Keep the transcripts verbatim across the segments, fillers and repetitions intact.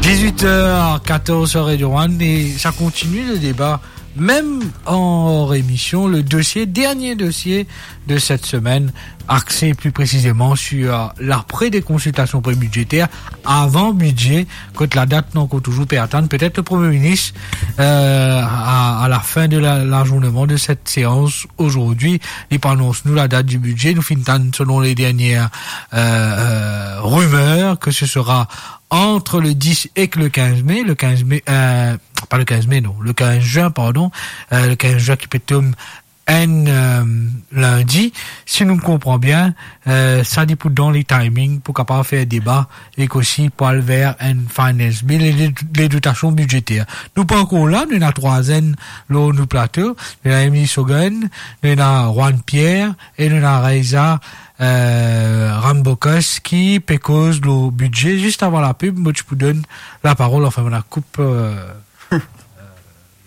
Dix-huit heures quatorze sur Radio One et ça continue le débat, même hors émission, le dossier, dernier dossier de cette semaine, axé plus précisément sur l'après des consultations prébudgétaires, avant budget, kot ladat nou ankor touzour pe atann. Peut-être le Premier ministre, euh, à, à la fin de la, l'ajournement de cette séance aujourd'hui, li pou anons nou ladat du budget. Nou finn tann, selon les dernières, euh, euh, rumeurs, que ce sera entre le dix et le quinze mai, le quinze mai, euh, pas le quinze mai, non, le quinze juin, pardon, euh, le quinze juin ki pe tom enn, euh, lindi, si nou konpran bien, euh, sa li pou donn li timing pou kapav fer deba ek osi pou al ver enn finance bill e le, le dotasion bidzeter. Nou pa ankor la, nou ena trwa zenn lor nou plato, nou ena Emily Sogan, nou ena Juan Pierre e nou ena Reza, euh, Rambocus ki pe koz lor bidze. Zis avan lapib, mo ti pou donn laparol, anfin, mo ena koup, euh,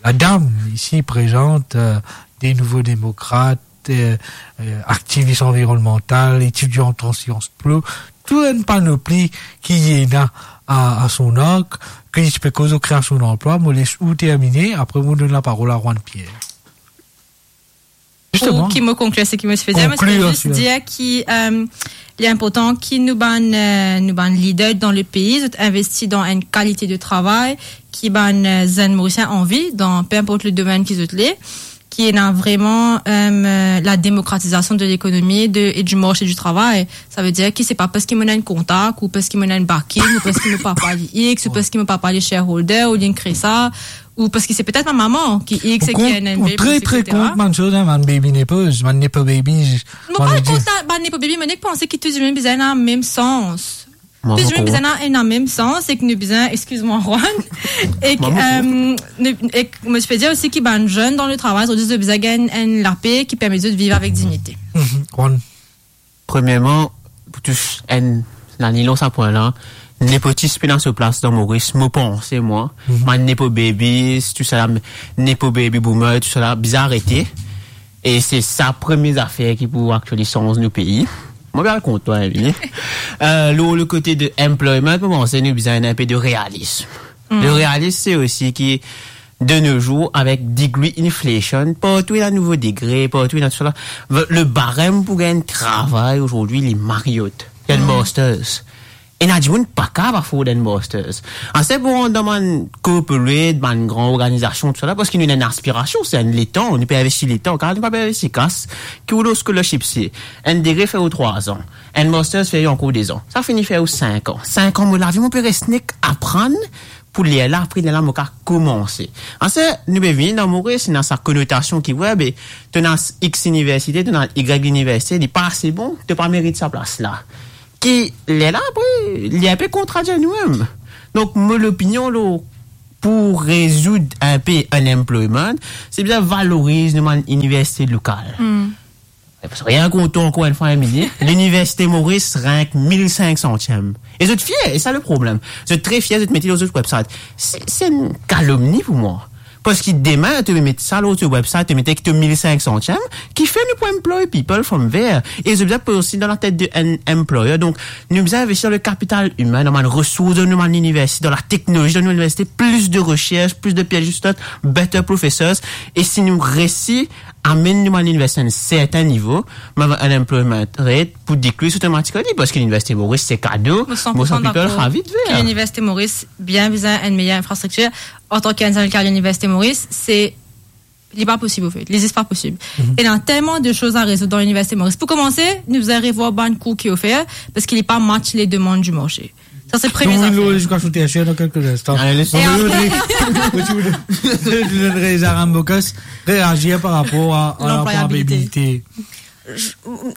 ladam isi prezant, euh, des Nouveaux Démocrates, euh, euh, aktivis anvironnmantal, etidian an Sciences Po, tou enn panopli ki ena a, a son ark, ki ti pe koz lor kreasion danplwa. Mo les ou termine, apre mo donn laparol a Juan Pierre. Pou ki mo konklir seki mo ti pe dir, mo ti pe zis dir ki, euh, li inportan ki nou bann, euh, nou bann lider dan lepei, zot investi dan enn kalite de travay ki bann, euh, zenn Morisien anvi, dan pe inport le domenn ki zot le, ki ena vreman, euh, la demokratizasion de lekonomi, de, e di marse di travay. Savedir ki se pa parski mo ena enn kontak, ou parski mo ena enn backing, ou parski mo papa li X, ou parski mo papa li shareholder, ou li ena kresa, ou parski se petet mo mama ki X e ki ena enn, ou tre, tre kont bann soz, hein, bann baby nepoz, bann nepo babies. Mo pa kont bann nepo baby, mo nek panse ki tou dimoun bizin ena mem sans. Tou dimoun bizin ena, ena mem sans, e ki nou bizin, excuse-moi, Juan, e ki, euh, nou, e ki, mo ti pe dir osi ki bann zenn dan le travay, zot bizin gagn enn lape ki permet zot viv avek dignite. Mhm, Juan. Premierman, pou tous enn, laliny lor sa pwin la, nepotis pena so plas dan Moris, mo panse mwa. Mhm. Bann nepo babies, tou sa la, nepo baby boomer, tou sa la, bizin arete. E se sa premie zafer ki pou aktiali sanz nou pei. Mo pe al kont twa, Emily. Euh, lor le kote de employment, mo panse nou bizin enn pe de realism. Mm. Le realism, se osi ki de nos jours, avek degree inflation, partou ena nouvo degre, partou ena tousala. Le barem pou gagn travay azordi, li Marriott, li enn masters. Ena dimoun pa kapav afford enn masters. Ase pou rant dan bann corporate, bann gran organizasion, tousala, parski nou ena enn aspirasion, se enn letan, nou pe investi letan, kar nou pa pe investi kas, ki ou lor scholarship, se enn degre fer ou trwa an, enn masters fer ou ankor de zan. Sa fini fer ou sink an. Sink an mo lavi, mo pe res nek aprann, pou lerla, apre lerla, mo kav koumanse. Ase, nou pe vini dan Moris, ena sa konotasion ki, we, be, to ena X iniversite, to ena Y iniversite, li pa ase bon, to pa merit sa plas la. Ki, lerla, apre, li enpe kontradir nou mem. Donk, mo lopinion, lor, pou rezoud enpe unemployment, se bizin valoriz nou bann iniversite lokal. Hmm. Rien kont twa ankor enn fwa, Emily. Liniversite Moris rank mil sink santiem. E zot fier, e sa le problem. Zot tre fier, zot mete lor zot website. Se, se enn kalomni pou mwa. Parski demin, to met sa lor to website, to met ki to mil sink santiem, ki fer nou pou employ people from there. E zot bizin poz osi dan latet de enn employer. Donk, nou bizin investi dan le kapital imin, dan bann resours de nou bann liniversite, dan la teknolozi de nou liniversite, plis de resers, plis de PhD students, better professors. E si nou resi amenn nou bann liniversite a enn sertin nivo, mem unemployment rate pou decrease automatically, parski Liniversite Moris se kado, mo san pou san dakor ki Liniversite Moris bien bizin enn meyer infrastriktir. Antan ki enn zenn kar Liniversite Moris, se, li pa posib, anfet. Li zis pa posib. Mhm. Ena telman de soz a rezoud dan Liniversite Moris. Pou koumanse, nou bizin revwar bann kour ki ofer, parski li pa match le demann di marse. Sa, se premie zafer. Nou vinn lor lezidikasion tersier dan kelke linstan. Ale, les. E apre, nou donn Reza Rambocus reazir par rapor a, a lanplwayabilite. Lanplwayabilite. Je,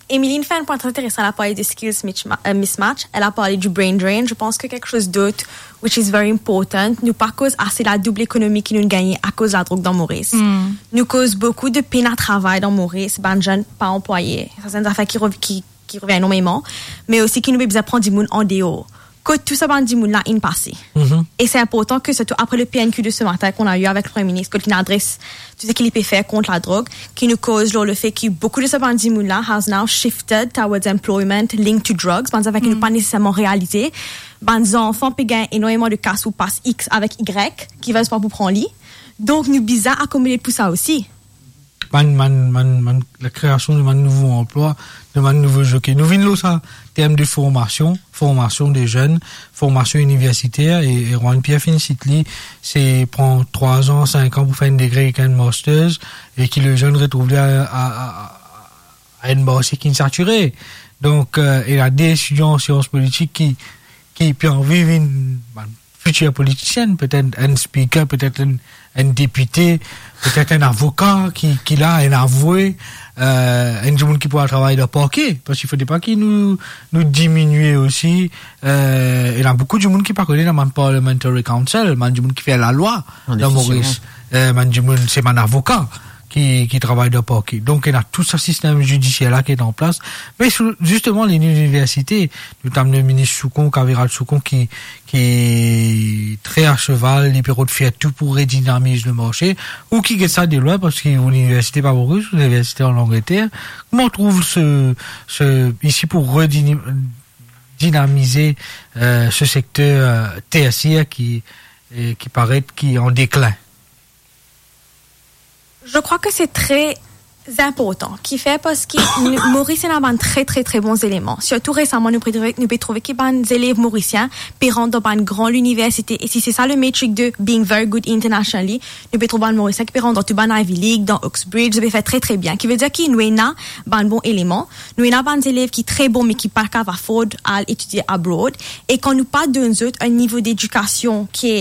Emily inn fer enn pwin tre interesan, elle a parlé de skills misma-, euh, mismatch, elle a parlé du brain drain. Je pense que quelque chose d'autre, which is very important, nou pa koz ase la doub ekonomi ki nou gagne akoz ladrog dan Moris. Hmm. Nou koz boukou de pena travay dan Moris, bann zenn pa anplwaye. Sa, se enn zafer ki rev-, ki, ki revien enormeman, me osi ki nou pe bizin pran dimoun andeor. kot tou sa bann dimoun la inn pase. Mhm. E se inportan ke, sirtou apre le P N Q de ce matin qu'on a eu avec le Premier ministre, kot linn adres tou seki li pe fer kont ladrog, ki nou koz lor lefe ki boukou de sa bann dimoun la has now shifted towards employment linked to drugs, bann zafer ki nou pa neseserman realize. Bann zanfan pe gagn enormeman de kas ou pas X avek Y, ki res pa pou pran li. Donk, nou bizin akomode pou sa osi. Bann, bann, bann, bann, lakreasion de bann nouvo anplwa, de bann nouvo zoke. Nou vinn lor sa term de formasion, formasion de zenn, formasion iniversiter, e, e Juan Pierre finn sit li, se pran trwa an, sink an pou fer enn degre ek enn masters, e ki le zenn retrouv li a, a, a, a enn marse ki satire. Donk, euh, ena de etidian an sians politik ki, ki pe anvi vinn, bann fitir politisien, petet enn speaker, petet enn, enn depite, petet enn avoka ki, ki la, enn avoue, euh, enn dimoun ki pou al travay dan parke, parski fode pa ki nou, nou diminie osi, euh, ena boukou dimoun ki pa kone dan bann parliamentary council, bann dimoun ki fer lalwa dan Moris, euh, bann dimoun, se bann avoka ki, ki travay dan parke. Donk, ena tou sa sistem zidisier la ki ena an plas. Me sou, zisteman, liniversite, notamman le minis Soucon, Kaviral Soucon, ki, ki tre a seval, li pe rod fer tou pou redinamiz le marse. Ou ki get sa de lwin, parski ou liniversite pa Moris, ou liniversite an Langleter. Kouma ou trouv se, se, isi pou redini-, dinamize, euh, se sekter, euh, tersier ki, euh, ki paret ki an deklin? Je crois que c'est très important, kifer parski nou, Moris ena bann tre, tre, tre bon zeleman. Sirtou resaman, nou pe trouve, nou pe trouve ki bann zelev morisien pe rant dan bann gran liniversite. E si se sa le metrik de being very good internationally, nou pe trouv bann Morisien ki pe rant dan tou bann Ivy League, dan Oxbridge, zot pe fer tre, tre bien. Ki vedir ki nou ena bann bon eleman, nou ena bann zelev ki tre bon, me ki pa kav afford al etidie abroad. E kan nou pa donn zot enn nivo dedikasion ki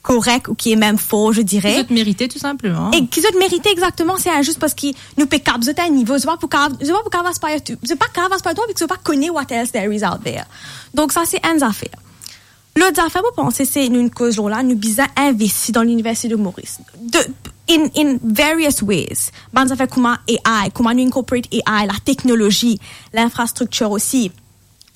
korek ou ki mem for, je dirais. Ki zot merite, tou sinpleman. E ki zot merite, exakteman, se inzis parski nou pe kap zot enn nivo, zot pa pou kav, zot pa pou kav aspire to, zot pa kav aspire to, parski zot pa kone what else there is out there. Donk sa, se enn zafer. Lot zafer, mo panse, se nou, nou koz lor la, nou bizin investi dan Liniversite de Moris. De, in, in various ways. Bann zafer kouma A I, kouma nou incorporate A I, lateknolozi, linfrastriktir osi.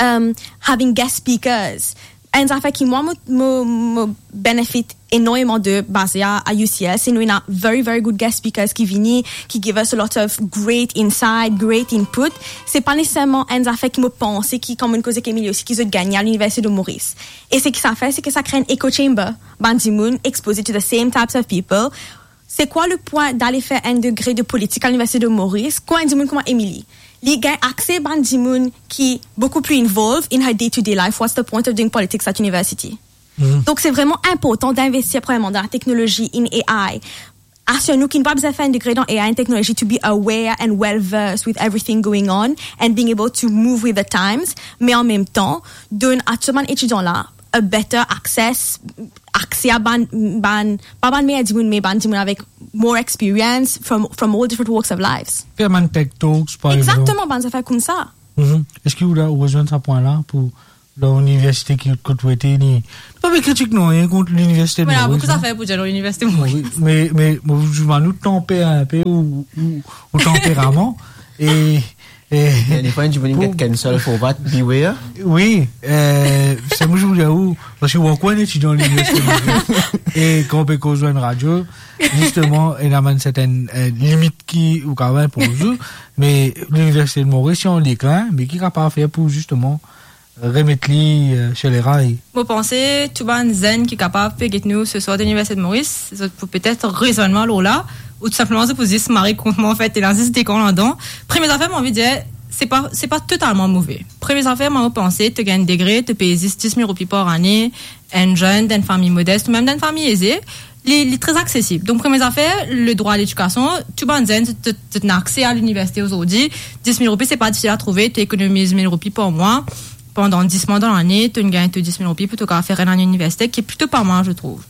Um, having guest speakers. Enn zafer ki mwa mo, mo, mo benefit enormeman de baze a, a U C L, se nou ena very, very good guest speakers ki vini, ki give us a lot of great insight, great input. Se pa neseserman enn zafer ki mo panse ki, kan mo koze ek Emily osi, ki zot gagne a Liniversite de Moris. E seki sa fer, se ki sa kre enn echo chamber. Bann dimoun expoze to the same types of people. C'est quoi le point d'aller faire un degré de politique à l'Université de Maurice? Kan enn dimoun kouma Emily, li gagn akse bann dimoun ki boukou pli involved in her day-to-day life. What's the point of doing politics at university? Mhm. Donk, se vreman inportan d'investir, premierman, dan lateknolozi, in A I. Asir nou ki nou pa bizin fer enn degre dan A I and technology to be aware and well versed with everything going on and being able to move with the times. Me an mem tan, donn a tou bann etidian la a better access, akse a bann, bann, pa bann meyer dimoun, me bann dimoun avek more experience from, from all different walks of lives. Fer bann tech talks, par example. Exactement, bann zafer koumsa. Mhm. Eski ou la, ou rezwenn sa pwin la pou lor liniversite ki kot ou ete, ni, nou pa pe kritik nanye kont Liniversite de Moris, non? Voilà, boukou zafer pou dir lor Liniversite Moris. Wi, me, me, mo, mo, nou tanper inpe ou, ou, ou tanperaman. E, e, difwa, enn dimoun pou get cancel for that, beware. Wi, e, se mo, mo dir ou, parski ou ankor enn etidian Liniversite Moris. E kan ou pe koz lor enn radio, zisteman, ena bann sertenn, e, limit ki ou kapav inpoz ou, me Liniversite de Moris, se an deklin, me ki kapav fer pou, zisteman, remet li, e, sir leray. Mo panse tou bann zenn ki kapav pe get nou seswar dan Liniversite de Moris, zot pou petet rezwenn mwa lor la, ou tou sinpleman zot pou zis mare kont mwa, anfet, ena zis de kan ladan. Premie zafer, mo anvi dir, se pa, se pa totalman move. Premie zafer, mo panse, to gagn degre, to peye zis dis mil roupi par ane, enn zenn, dan enn fami modes, ou mem dan enn fami eze, li, li tre aksesib. Donk, premie zafer, le drwa a ledikasion, tou bann zenn, to, to, to ena akse a liniversite ozordi, dis mil roupi, se pa difisil a trouve, to ekonomiz mil roupi par mwa, pandan dis mwa dan lane, to gagn to dis mil roupi pou to kapav fer enn lane liniversite, ki plito pa mal, je trouve.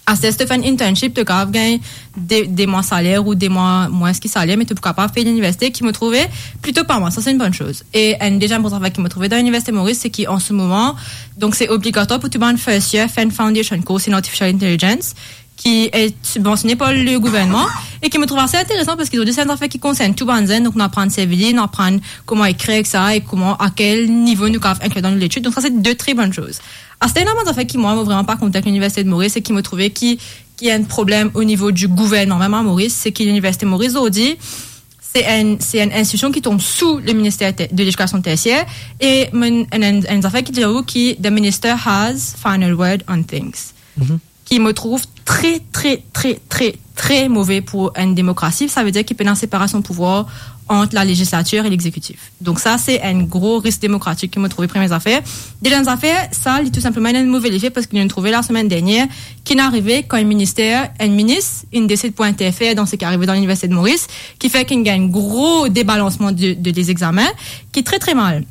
Aster, si to fer enn internship, to kapav gagn de, de mwa saler ou de mwa mwins ki saler, me to pou kapav pey liniversite, ki mo trouve plito pa mal, sa se enn bonn soz. E enn deziem bon zafer ki mo trouve dan Liniversite Moris, se ki an se moman, donk se obligatwar pou tou bann first year fer enn foundation course in artificial intelligence, ki est sibvansione par le gouvernman e ki mo trouv ase interesan parski zordi se enn zafer ki konsern tou bann zenn, donk nou aprann servi li, nou aprann kouma ekrir ek sa e kouma, a kel nivo nou kapav inklir dan nou letid. Donk sa se de tre bonn soz. Aster ena bann zafer ki mwa, mo vreman pa kontan ek Liniversite de Moris e ki mo trouve ki, ki enn problem o nivo di gouvernman mem a Moris, se ki Liniversite Moris zordi, se enn, se enn institision ki tonm sou le Ministère ter-, de l'Éducation tertiaire, e mo, enn, enn, enn zafer ki dir ou ki the minister has final word on things. Mhm. Ki mo trouv tre, tre, tre, tre, tre move pou enn demokrasi. Sa ve dir ki pena separasion pouvwar ant la legislatir e lexekitif. Donk sa, se enn gro risk demokratik ki mo trouve premie zafer. Deziem zafer, sa, li tou sinpleman enn move lefe parski nou trouve lasemenn dernier ki inn arive kan enn minister, enn minis, inn desid pou interfer dan seki arive dan Liniversite de Moris, ki fer ki inn gagn gro debalansman de, de, de lezegzamen, ki tre, tre mal.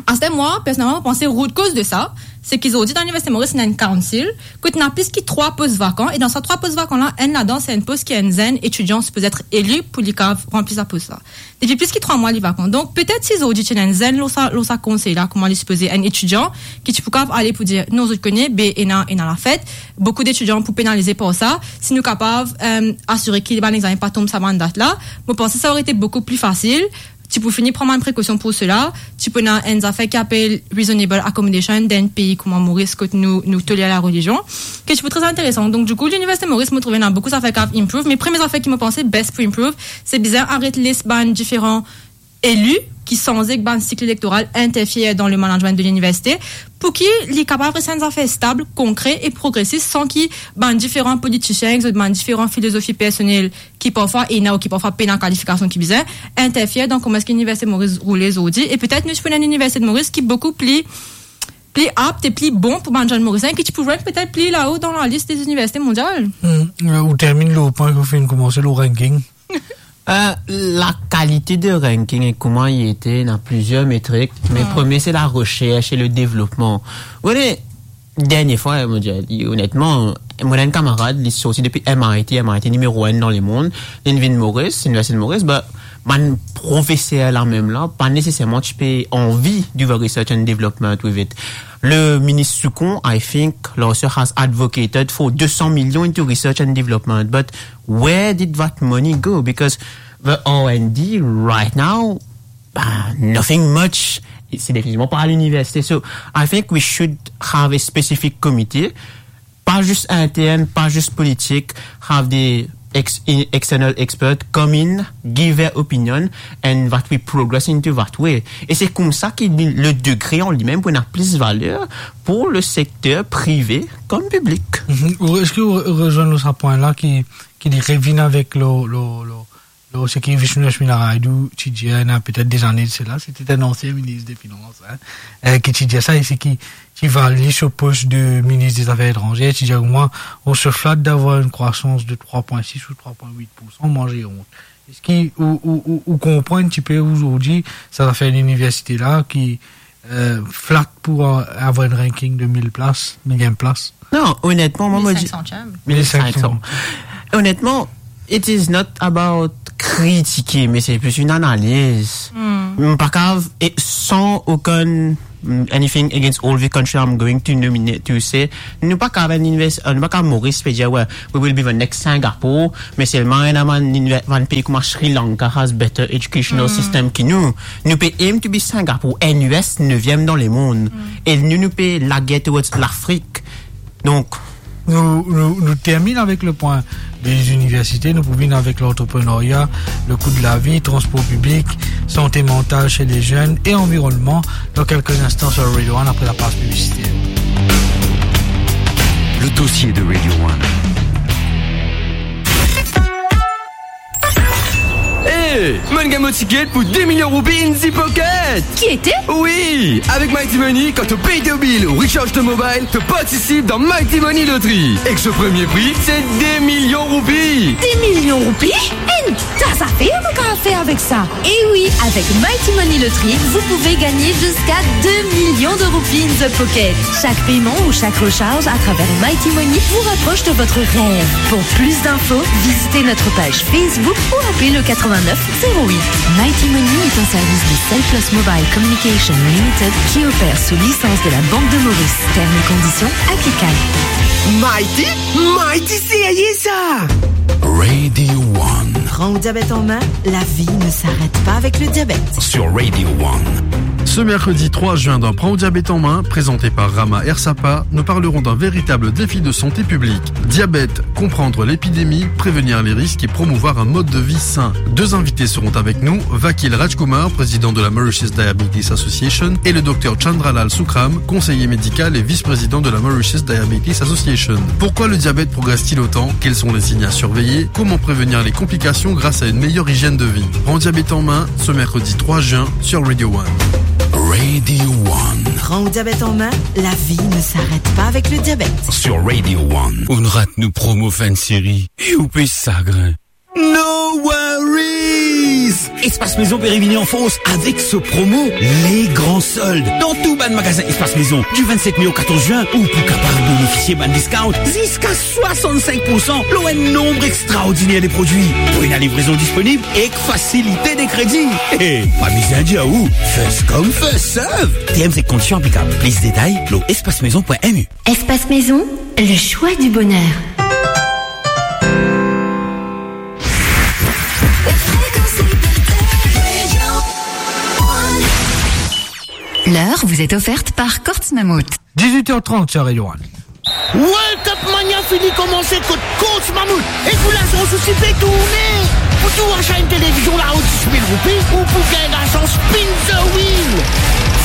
Aster mwa, personelman, mo panse root cause de sa, se ki zordi dan Liniversite Moris, ena enn council, kot ena plis ki trwa pos vakan, e dan sa trwa pos vakan la, enn ladan, se enn pos ki enn zenn etidian sipoze et eli pou li kapav ranpli sa pos la. Depi plis ki trwa mwa, li vakan. Donk, petet si zordi ti ena enn zenn lor sa, lor sa konsey la, kouma li sipoze, enn etidian ki ti pou kapav ale pou dir, non, zot kone, be ena, ena lafet, boukou detidian pou penalize par sa, si nou kapav, euh, asire ki bann examen pa tonm sa bann dat la, mo panse sa ore ete boukou pli fasil, ti pou fini pran bann prekosion pou sela, ti pou ena enn zafer ki apel reasonable accommodation dan enn pei kouma Moris, kot nou, nou toler larelizion, ki ti pou tre interesan. Donk, dikou, Liniversite Moris, mo trouve ena boukou zafer ki kapav improve, me premie zafer ki mo panse best pou improve, se bizin aret les bann diferan eli ki sanze ek bann sik elektoral interfer dan le management de liniversite, pou ki li kapav res enn zafer stab, konkre e progresis, san ki bann diferan politisien, ek zot bann diferan filozofi personel ki parfwa ena ou ki parfwa pena kalifikasion ki bizin, interfer dan kouma eski Liniversite Moris roule zordi, e petet nou ti pou ena enn Liniversite Moris ki boukou pli, pli apt e pli bon pou bann zenn Morisien, ki ti pou rank petet pli lao dan lalis de liniversite mondial. Hmm, euh, ou terminn lor pwin ki ou finn koumans lor ranking. Euh, lakalite de ranking e kouma li ete, ena plizier metrik, me premie se laresers e le devlopman. Ou kone, dernie fwa, mo dir, li, onetman, mo ena enn kamarad, li sorti depi M I T, M I T nimero enn dan lemond, li vinn Moris, Liniversite de Moris, be, bann profeser la mem la, pa neseserman ti pe anvi do a research and development with it. Le minis Soucon, I think, last year has advocated for de san milion into research and development, but where did that money go? Because the R and D right now, bah, nothing much. Se definitivman pa liniversite. So, I think we should have a specific committee, pa zis intern, pa zis politik, have the ex-, in-, external expert come in, give their opinion, and that we progress into that way. E se koumsa ki le degre an limem pou ena plis valer pou le sekter prive kom piblik. Mhm. Ou, eski ou re-, ou rezwenn lor sa pwin la ki, ki li revinn avek lo, lo, lo, lo, seki Vishnu Lakshmi Naidu ti dir, ena petet de zane de sela, se ti enn ansien minis de finans, hein, euh, ki ti dir sa, e seki ti vali so pos de minis de zafer etranzer, ti dir, moi, on se flatte d'avoir une croissance de trois point six ou trois point huit pour cent, moi j'ai honte. Eski ou, ou, ou, ou konpran enn tipe ozordi sa zafer liniversite la ki, euh, flat pou, euh, avoir enn ranking de mil plas, miliem plas? Non, onetman, mwa, mo dir, mil senk santièm. Mil senk san. Onetman, it is not about kritike, me se plis enn analiz. Hmm. Mo pa kapav, e san okenn, mm, anything against all the country I'm going to nominate to say, nou pa kapav enn inivers-, nou pa kapav Moris pe dir, "Well, we will be the next Singapore," me selman ena bann liniver-, bann pei kouma Sri Lanka has better educational system ki nou. Nou pe aim to be Singapore, N U S neviem dan lemond. E nou, nou pe lager towards Lafrik. Donk, nou, nou, nou terminn avek le pwin de liniversite, nou pou vinn avek lantreprenarya, le kou de lavi, transpor piblik, sante mantal se le zenn e anvironnman dan kelke instan sur Radio One apre lapaz piblisiter. Le dossier de Radio One. Hey, mo'nn gagn mo tiket pou de milion roupi in the pocket! Kiete? Wi, avek Mighty Money, kan to pey to bill ou recharge to mobile, to partisip dan Mighty Money Lottery. Ek so premie pri, se de milion roupi. De milion roupi? Enn ta zafer nou kapav fer avek sa. E wi, avec Mighty Money Lottery, vous pouvez gagner jusqu'à deux millions de roupies in the pocket. Chaque paiement ou chaque recharge à travers Mighty Money vous rapproche de votre rêve. Pour plus d'infos, visitez notre page Facebook ou appelez le quatre-vingt-neuf Zéro huit. Mighty Money est un service de Cell Plus Mobile Communication Limited qui opère sous licence de la Banque de Maurice. Termes et conditions applicables. Mighty, Mighty, c'est ça. Radio One. Prends ton diabète en main, la vie ne s'arrête pas avec le diabète. Sur Radio One. Ce mercredi trois juin, dans Prends ton diabète en main, présenté par Rama Ersapa, nous parlerons d'un véritable défi de santé publique. Diabète, comprendre l'épidémie, prévenir les risques et promouvoir un mode de vie sain. Deux invités seront avec nous, Vakil Rajkumar, président de la Mauritius Diabetes Association, et le docteur Chandralal Sukram, conseiller médical et vice-président de la Mauritius Diabetes Association. Pourquoi le diabète progresse-t-il autant ? Quels sont les signes à surveiller ? Comment prévenir les complications grâce à une meilleure hygiène de vie ? Prends ton diabète en main, ce mercredi trois juin sur Radio One. Radio One. Prends ton diabète en main, la vie ne s'arrête pas avec le diabète. Sur Radio One. Ou rat nou promo fin de série, e ou pe sagrin. No worries! Espace Maison pe revini an fors avek so promo Les Grands Soldes dan tou bann magazin Espace Maison. Du vingt-sept mai au quatorze juin, ou pou kapav benefisie bann discount ziska swasann-sink poursan lor enn nonb extraordiner de prodwi, pou ena livrezon disponib ek fasilite de kredi. E pa bizin dir ou, first come, first serve. Terms et conditions applicables. Plis detay lor espace maison point M U. Espace Maison, le choix du bonheur. L'heure vous est offerte par Courts Mammouth. Dix-huit heures trente sur Radio One. World Cup Mania fini komanse kot Courts Mammouth. Ek ou lazans osi pe tourne. Pou tou acha enn televizion lao dis mil roupi, ou pou gagn lazans Spin the Wheel.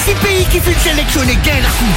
Sis pei ki finn seleksionnen gagn lakoup.